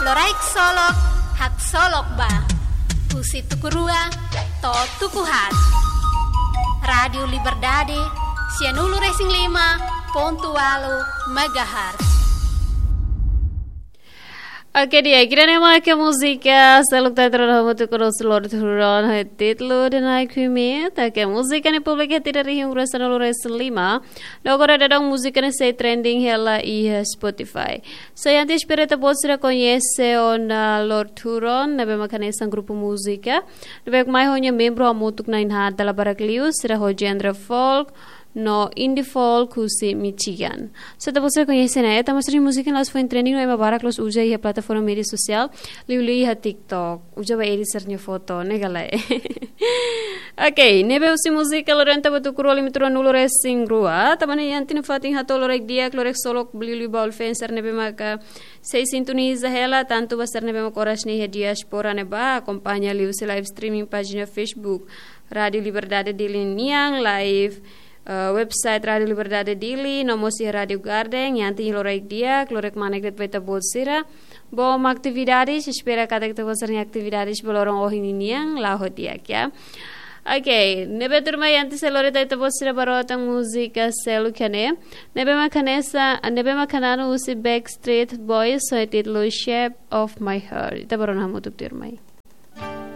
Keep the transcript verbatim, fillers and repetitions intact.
Loraik Solok, haksolok ba. Husi tuku rua to'o tuku haat. Rádiu Liberdade, sianulu-resin-lima pontu ualu megahertz. Oke, di'ak, ida-ne'e mak múzika seluk ita rona hamutuk ho Lord Huron, ho títulu The Night We Meet. Oke, múzika ne'e publika iha tinan rihun rua sanulu-resin-lima. No agora daudaun múzika ne'e sei trending hela iha Spotify. So, entaun espera ita-boot sira koñese ona Lord Huron, ne'ebé mak hanesan grupu múzika ne'ebé mai ho nia membru hamutuk na'in haat dala barak liu, sira ho genre folk no indie folk husi Michigan. So, ita-boot sira koñese ona, entaun mós nia múzika ne'e la'ós foin trending no ema barak la'ós uza iha plataforma média sosiál, liuliu iha TikTok. Uza ba edit sira-nia foto, ne'e ka lae? Oke, ne'ebé husi múzika loron ida ita bá tuku rua limit rua nulu resin rua. Tanba ne'e entaun nafatin hato'o loraik di'ak, loraik solok, liuliu ba uluk fans sira ne'ebé maka sei sintoniza hela, tantu ba sira ne'ebé maka oras ne'e iha diáspora ne'ebá, akompaña liuhusi live streaming pájina Facebook Rádiu Liberdade Dili nian, live, eh, website Rádiu Liberdade Dili, no mós iha Rádiu Garden, entaun loraik di'ak, loraik manek de'it ba ita-boot sira. Bom atividades, espera katak ita-boot sira-nia atividades ba loron ohin ninian la'o ho di'ak, ya. Oke, ne'ebé tuirmai entaun sei lori ita-boot sira ba rota múzika seluk ne'e. Ne'ebé mak hanesan, ne'ebé mak hananu husi Backstreet Boys, ho títulu Shape of My Heart. Ita bá rona hamutuk tuirmai.